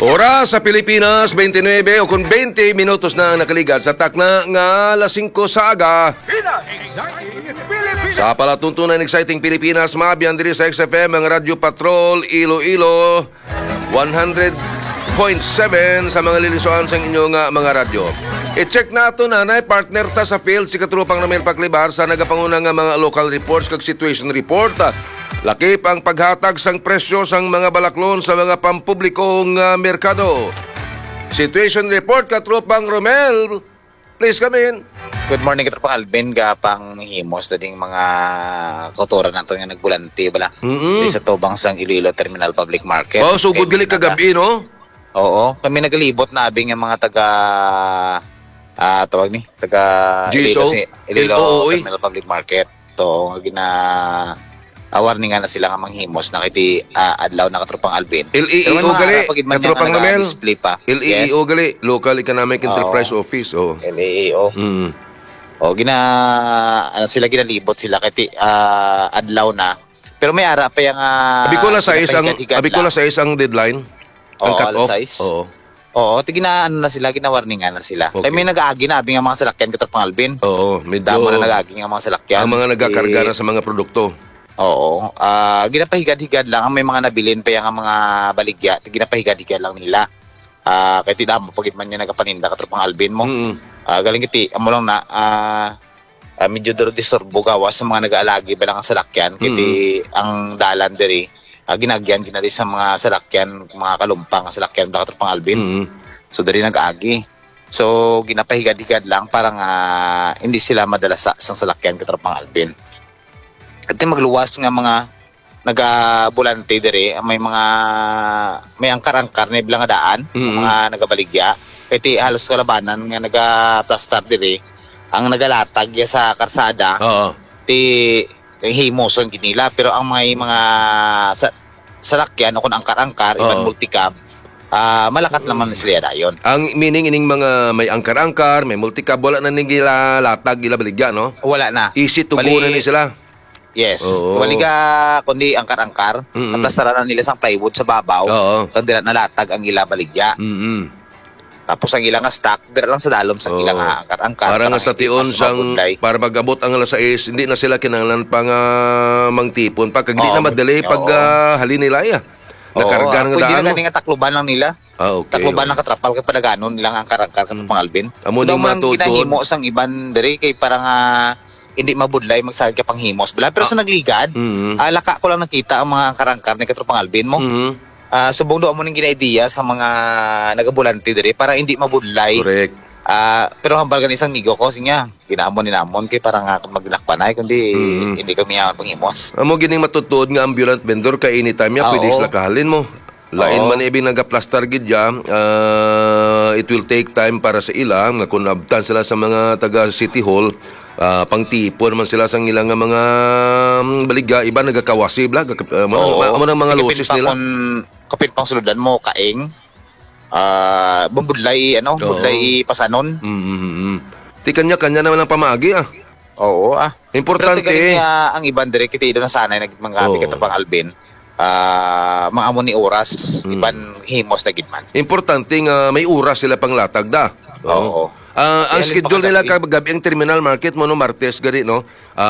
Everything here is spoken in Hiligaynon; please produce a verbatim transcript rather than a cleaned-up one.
Oras sa Pilipinas, twenty-nine o kung twenty minutos na ang nakaligad sa takna nga alas singko sa aga. Sa palatuntunan, exciting Pilipinas, maabiyan diri sa X F M ang Radyo Patrol Iloilo, one hundred point seven sa mga lilisuan sang inyo nga mga radyo. I-check nato na nay partner ta sa field, si Katropang Romel Paclibar sa nagapanguna nga mga local reports kag situation report. Lakip ang paghatag sang presyo sang mga balaklon sa mga pampubliko nga merkado. Situation report, Katropang Romel. Please come in. Good morning, Katropang Alvin. Gapang himos na ding mga kautoran nato nga nagbulante, bala. Mm-mm. Di sa tubang sang Iloilo Terminal Public Market. Oh, so good Kay gali may naga- kagabi, no? Oo, kami nagalibot na abi nga mga taga, ah, tawag ni, taga G S O? Iloilo si Iloilo L O O, eh. Terminal Public Market. To, nga gina, ah, warningan na sila nga manghimos na kay di, ah, adlaw na, Katropang Alvin. L E E O Pero may gali, maara pa gid man Katropang nga Romel. Naka-display pa. L E E O Yes. gali, Local Economic Oo. Enterprise Office, oh. L E E O. Mm. O, gina, ano sila, ginalibot sila kay ti, ah, adlaw na. Pero may ara pa yang, ah, Abi ko alas sais ang, ginapahigad-higad abi ko lang. alas sais ang deadline. Ang Oo, cut alas off. sais. Oo. Oo, ti gina-, ano na sila, ginawarningan na sila. Okay. Kay may nag-aagi na, abi nga mga salakyan, Katropang Alvin. Oo, medyo Damo na nag-aagi nga mga salakyan. Ang mga nagakarga Ti na sa mga produkto. Oo. Ah, ginapahigad-higad lang. Ang may mga nabilin pa yang mga baligya, ti ginapahigad-higad lang nila. Ah, kay ti damo pa gid man nga nagapaninda, Katropang Alvin mo. Mm. Ah, galing kiti, amo lang na, ah, ah, medyo duro disturbo gawas sa mga nag-aalagi ba lang ang salakyan, kay Mm. ti ang dalan diri, ah, ginagyan ginali sa mga salakyan, mga kalumpang nga salakyan, Katropang Alvin. Mm. So, diri nag-agi. So, ginapahigad-higad lang para nga hindi sila madala sa, sa salakyan, Katropang Alvin. At yung magluwas nga mga nagabulante diri, may mga, may angkar-angkar na bala nga daan, Mm. mga nagabaligya. Kay ti halos kalabanan nga nagaplastar diri, ang nagalatag ya sa karsada, Oo. ti himos ang ginila. Pero ang may mga sa, salakyan o kung angkar-angkar, iban Oo. multicab, ah, malakat naman sila dayon. Ang meaning ining mga may angkar-angkar, may multicab, wala na ning gila latag, gila baligya, no? Wala na. Easy to go Bali, na ni sila. Yes. Oo. Wali ka, kundi angkar-angkar, Mm-mm. naplastaran na nila sang plywood sa babaw, Oo. kag dira nalatag ang ila baligya. Mm-mm. Tapos ang ila nga stock, dira lang sa dalom sa ila Oo. nga angkar-angkar, Para para nga sa hindi tion pa sa sang, mabudlay. para mag-abot ang alas sais, hindi na sila kinahanglan pa nga mangtipon pa, kag di na Oo, madali oo. pag, ah, halin nila, ya. Oo, Nakarga ah, ng pwede na daan, gani no? nga takluban lang nila. Ah, okay, Takluban okay. lang katrapal kay padaganon nilang angkar-angkar, Mm. Katropang Alvin. Amo Daw ning man matuod-tuod. ginahimo sang iban diri kay para nga hindi mabudlay magsagad ka panghimos bala. Pero Ah. sa nagligad, Mm. ah, laka ko lang nakita ang mga angkar-angkar ni Katropang Alvin mo. Mm. Ah, subong daw amo ning gina-idea sa mga nagabulante diri para hindi mabudlay. Correct. Ah, pero hambal gani sang migo ko, siya, ginaamon ni namon kay para nga magdinakpanay, kundi Mm. hindi kami yaman panghimos. Amo gining matutuod nga ambulant vendor kay anytime ya, Ah, pwede oo. sila kahalin mo. Lain Oo. man ibig nagaplastar gid ya, ah, it will take time para sa ila nga kung abtan sila sa mga taga City Hall, ah, pangtipon man sila sang ila nga mga, mm, baligya, iba nagakawasi bala, gak-, ah, amo na, Oo. amo na mga Kapin lusis pa nila. Kung, kapin pang suludan mo, kaing, ah, mabudlay, ano, Oo. budlay pasanon. Mm, mm, mm. Ti kanya-kanya naman ang pamagi, ah. Oo, ah. Importante. Pero ti galing, ah, ang iban diri, kita daw nasanay na gid mga Oo. Katropang Alvin. Ah, mga amo ni oras, Mm. iban himos na gid man. Importante nga may oras sila panglatag da. Oo. Oo. Ah, ang Kaya schedule nila pagkagabi. Kagabi ang terminal market mo, no, Martes gari, no? Ah,